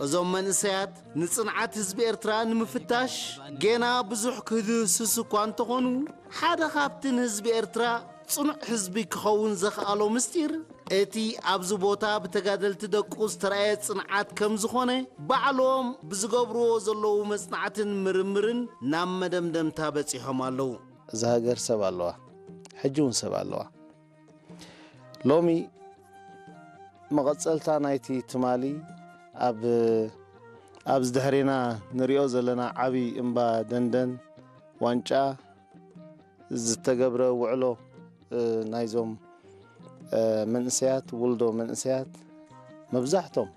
እዞም መንእሰያት ንጽንዓት ህዝቢ ኤርትራ ንምፍታሽ ጌና ብዙሕ ክህስስ እኳ እንተኾኑ፣ ሓደ ካብቲ ንህዝቢ ኤርትራ ጽኑዕ ህዝቢ ክኸውን ዘኽኣሎ ምስጢር፣ እቲ ኣብዚ ቦታ ብተጋደልቲ ደቁ ዝተራእየ ጽንዓት ከም ዝኾነ፣ ባዕሎም ብዝገብርዎ ዘለዉ መጽናዕትን ምርምርን ናብ መደምደምታ በጺሖም ኣለዉ። እዛ ሃገር ሰብ ኣለዋ፣ ሕጂ እውን ሰብ ኣለዋ። ሎሚ መቐጸልታ ናይቲ ትማሊ ኣብ፣ ኣብዚ ድሕሬና ንሪኦ ዘለና ዓቢ እምባ ደንደን ዋንጫ ዝተገብረ ውዕሎ፣ እ፣ ናይዞም፣ እ፣ መንእሰያት፣ ውልዶ መንእሰያት መብዛሕቶም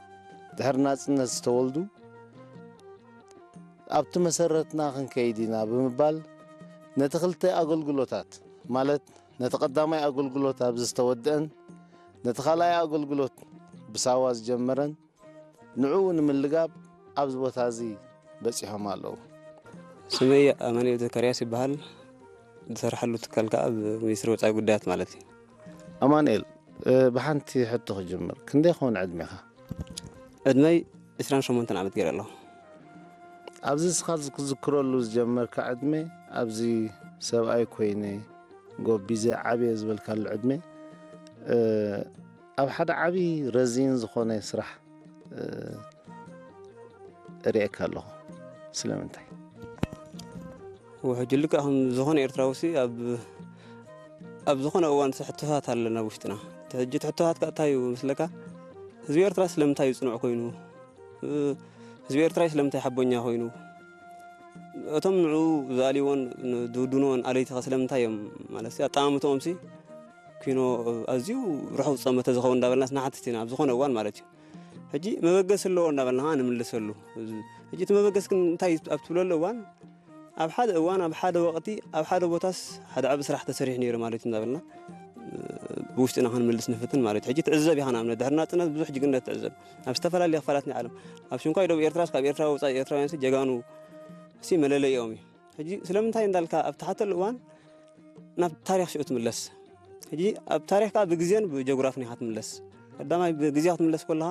ድሕሪ ናጽነት ዝተወልዱ ኣብቲ መሰረትና ክንከይድ ኢና ብምባል ነቲ ክልተ ኣገልግሎታት፣ ማለት ነቲ ቀዳማይ ኣገልግሎት ኣብዚ ዝተወድአን ነቲ ካልኣይ ኣገልግሎት ብሳዋ ዝጀመረን ንዕኡ ንምልጋብ ኣብዚ ቦታ እዚ በጺሖም ኣለዉ። ስመይ ኣማኑኤል ዘካርያስ ይበሃል። ዝሰርሐሉ ትካል ከኣ ኣብ ሚኒስትሪ ወጻኢ ጉዳያት ማለት እዩ። ኣማኑኤል፣ እ፣ ብሓንቲ ሕቶ ክጅምር። ክንደይ ክኸውን ዕድሜኻ? ዕድመይ ዕስራን ሸሞንተን ዓመት ገይረ ኣለኹ። ኣብዚ እስኻ ክትዝክረሉ ዝጀመርካ ዕድመ፣ ኣብዚ ሰብኣይ ኮይነ ጎቢዘ ዓብየ ዝበልካሉ ዕድመ፣ እ፣ ኣብ ሓደ ዓቢ ረዚን ዝኾነ ስራሕ፣ እ፣ እርእየካ ኣለኹ። ስለምንታይ? ወ-፣ ሕጂ ልክዕ ከም ዝኾነ ኤርትራዊ ሲ ኣብ፣ ኣብ ዝኾነ እዋን ሲ ሕቶታት ኣለና ኣብ ውሽጥና። እቲ ሕጂ እቲ ሕቶታት ከ እንታይ እዩ መስለካ? ህዝቢ ኤርትራ ስለምንታይ እዩ ጽኑዕ ኮይኑ? እ፣ ህዝቢ ኤርትራ ስለምንታይ ሓቦኛ ኮይኑ? እቶም ንዕኡ ዝኣልይዎን ዝውድንዎን ኣለይቲ ከ ስለምንታይ እዮም? ማለት ሲ ኣጠማምትኦም ሲ ኪኖ ኣዝዩ ርሑቕ ዝጸመተ ዝኸውን እንዳበልናስ ንሓትት ኢና ኣብ ዝኾነ እዋን ማለት እዩ። ሕጂ መበገሲ ኣለዎ እንዳበልና ኸዓ ንምልሰሉ። እዚ፣ ሕጂ እቲ መበገሲ ግን እንታይ እዩ ኣብ ትብለሉ እዋን፣ ኣብ ሓደ እዋን፣ ኣብ ሓደ ወቕቲ፣ ኣብ ሓደ ቦታስ ሓደ ዓቢ ስራሕ ተሰሪሑ ነይሩ ማለት እዩ እንዳበልና፣ እ፣ ብውሽጥና ክንምልስ ንፍትን ማለት እዩ። ሕጂ ትዕዘብ ኢኻ፣ ንኣብነት ድሕሪ ናጽነት ብዙሕ ጅግንነት ትዕዘብ። ኣብ ዝተፈላለየ ክፋላት ናይ ዓለም፣ ኣብ ሽንኳይ ደቡብ ኤርትራስ ካብ ኤርትራ ወጻኢ ኤርትራውያንሲ ጀጋኑ ሲ መለለይኦም እዩ። ሕጂ ስለምንታይ እንዳልካ ኣብ ትሓተሉ እዋን ናብ ታሪኽ ሽዑ ትምለስ። ሕጂ ኣብ ታሪኽ ከኣ ብግዜን ብጀግራፍን ኢኻ ትምለስ። ቀዳማይ ብግዜ ክትምለስ ከለኻ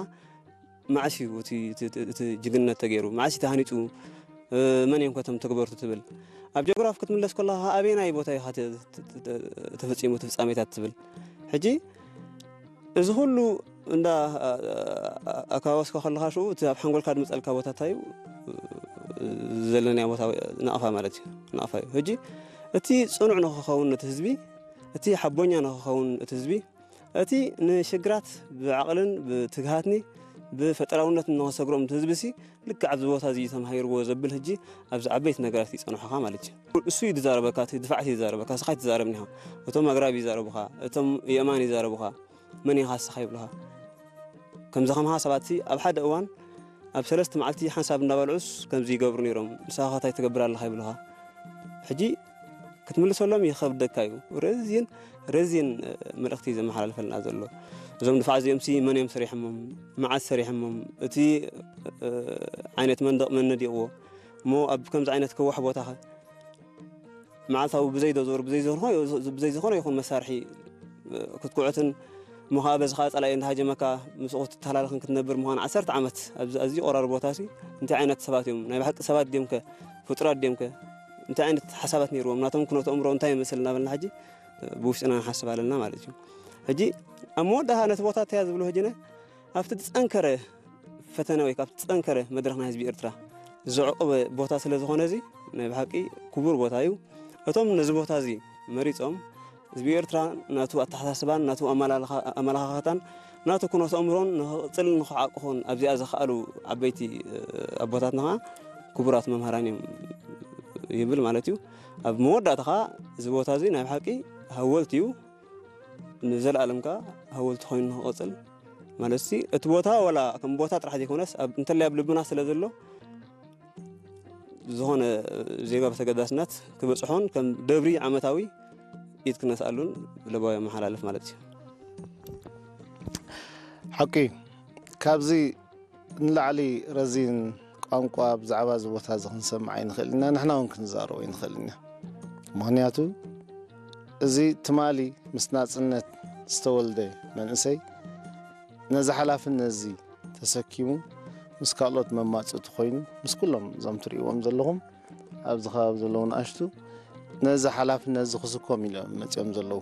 መዓስ እዩ እቲ፣ እቲ፣ እቲ፣ እቲ ጅግንነት ተገይሩ? መዓስ እዩ ተሃኒጹ? እ፣ መን እዮም ከ እቶም ተግበርቱ ትብል? ኣብ ጀግራፍ ክትምለስ ከለኻ ኣበየናይ ቦታ ኢኻ ተ-፣ ተ-፣ ተ-፣ ተፈጺሙ እቲ ፍጻሜታት ትብል? ሕጂ እዚ ኩሉ እንዳ ኣ-፣ ኣ-፣ ኣካባበስካ ከለኻ ሽዑ እቲ ኣብ ሓንጎልካ ዝመጸልካ ቦታ እንታይ እዩ? ዘለናዮ ቦታ ናቕፋ ማለት እዩ። ናቕፋ እዩ። ሕጂ እቲ ጽኑዕ ንኽኸውን ነቲ ህዝቢ፣ እቲ ሓቦኛ ንኽኸውን እቲ ህዝቢ፣ እቲ ንሽግራት ብዓቕልን ብትግሃትኒ ብፈጠራውነት ንኽሰግሮም እቲ ህዝቢ ሲ ልክዕ ኣብዚ ቦታ እዚ እዩ ተማሂርዎ ዘብል ሕጂ ኣብዚ ዓበይቲ ነገራት ይጸንሑኻ ማለት እዩ። እሱ እዩ ዝዛረበካ፣ እቲ ድፋዕት እዩ ዝዛረበካ፣ ንስኻ ኣይትዛረብን ኢኻ። እቶም ኣግራብ ይዛረቡኻ፣ እቶም የእማን ይዛረቡኻ። መን ኢኻ ንስኻ ይብሉኻ። ከምዚ ከማኻ ሰባትሲ ኣብ ሓደ እዋን ኣብ ሰለስተ መዓልቲ ሓንሳብ እንዳበልዑስ ከምዚ ይገብሩ ነይሮም። ንስኻ ከ እንታይ ትገብር ኣለኻ ይብሉኻ። ሕጂ ክትምልሰሎም ይኸብደካ እዩ። ረዚን፣ ረዚን፣ እ፣ መልእኽቲ ዘመሓላልፈልና ዘሎ። እዞም ድፋዕ እዚኦምሲ መን እዮም ሰሪሖሞም? መዓስ ሰሪሖሞም? እቲ፣ እ፣ ዓይነት መንደቕ መን ነዲቕዎ? እሞ ኣብ ከምዚ ዓይነት ከዋሕ ቦታኸ? መዓልታዊ ብዘይ ዶዘር፣ ብዘይ ዝኾነ፣ ብዘይ ዝኾነ ይኹን መሳርሒ፣ እ፣ ክትኩዕትን እሞ ኸዓ በዚ ኸዓ ጸላኢ እንዳሃጀመካ ምስኡ ክትተሃላለኽን ክትነብር ምዃን ዓሰርተ ዓመት ኣብዚ ኣዝዩ ቆራሪ ቦታሲ እንታይ ዓይነት ሰባት እዮም? ናይ ብሓቂ ሰባት ድዮም ከ? ፍጡራት ድዮም ከ? እንታይ ዓይነት ሓሳባት ነይርዎም? ናቶም ኩነተ ኣእምሮ እንታይ ይመስል እናበልና ሕጂ፣ እ፣ ብውሽጥና ንሓስብ ኣለና ማለት እዩ። ሕጂ ኣብ መወዳእታ ነቲ ቦታ እንታይ እያ ዝብሎ ሕጂ ነ-፣ ኣብቲ ዝጸንከረ ፈተነ ወይ ካብቲ ዝጸንከረ መድረኽ ናይ ህዝቢ ኤርትራ ዘዕቆበ ቦታ ስለ ዝኾነ እዚ ናይ ብሓቂ ክቡር ቦታ እዩ። እቶም ነዚ ቦታ እዚ መሪጾም ህዝቢ ኤርትራ ናቱ ኣተሓሳስባን ናቱ ኣመላልኻ-፣ ኣመለኻኽታን ናቱ ኩነተ ኣእምሮን ንኽቕጽልን ንኽዓቅኹን ኣብዚኣ ዘኽኣሉ ዓበይቲ፣ እ፣ ኣቦታትና ኸዓ ክቡራት መምህራን እዮም ይብል ማለት እዩ። ኣብ መወዳእታ ኸዓ እዚ ቦታ እዚ ናይ ብሓቂ ሃወልቲ እዩ። ንዘለኣለም ከኣ ሃወልቲ ኮይኑ ንኽቕጽል ማለትሲ፣ እቲ ቦታ ዋላ ከም ቦታ ጥራሕ ዘይኮነስ፣ ኣብ፣ እንተላይ ኣብ ልብና ስለ ዘሎ፣ ዝኾነ ዜጋ ብተገዳስነት ክበጽሖን ከም ደብሪ ዓመታዊ ኢድ ክነስኣሉን ለባዊ ኣመሓላልፍ ማለት እዩ። ሓቂ፣ ካብዚ ንላዕሊ ረዚን ቋንቋ ብዛዕባ እዚ ቦታ እዚ ክንሰምዕ ኣይንኽእል ኢና፣ ንሕና እውን ክንዛረቦ ኣይንኽእል ኢና። ምኽንያቱ፣ እዚ ትማሊ ምስ ናጽነት ዝተወልደ መንእሰይ ነዚ ሓላፍነት እዚ ተሰኪሙ፣ ምስ ካልኦት መማፅእቲ ኮይኑ ምስ ኩሎም እዞም ትርእይዎም ዘለኹም ኣብዚ ከባቢ ዘለዉ ንኣሽቱ ነዚ ሓላፍነት እዚ ክስኮም ኢሎም መፂኦም ዘለዉ።